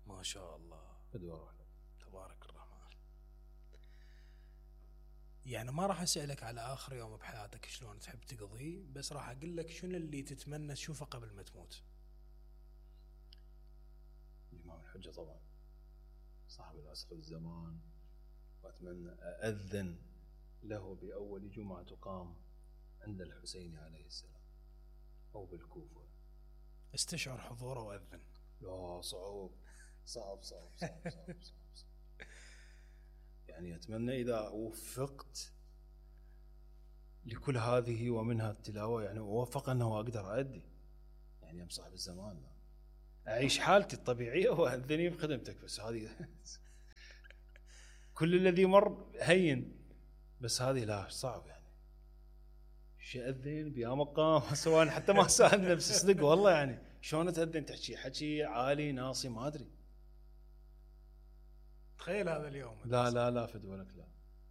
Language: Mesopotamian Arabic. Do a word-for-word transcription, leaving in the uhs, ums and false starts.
ما شاء الله تبارك الرحمن. يعني ما راح اسألك على آخر يوم بحياتك شلون تحب تقضيه، بس راح أقول لك شنو اللي تتمنى تشوفه قبل ما تموت. الإمام الحجة طبعا صاحب العصر والزمان، وأتمنى أأذن له بأول جمعة تقام عند الحسين عليه السلام أو بالكوفة. استشعر حضوره وأذن. لا صعب صعب صعب صعب صعب, صعب, صعب. يعني أتمنى إذا وفقت لكل هذه ومنها التلاوة، يعني أوفق أنه أقدر أؤدي، يعني أم صاحب الزمان لا أعيش حالتي الطبيعية وأذني بخدمتك، بس هذه كل الذي مر هين، بس هذه لا صعب. يعني شو أذن بيا مقام سواء حتى ما سأل نفسي صدق والله، يعني شلون تأذن تحكي حكي عالي ناصي ما أدري. تخيل هذا اليوم. لا لا لا فدولك لا.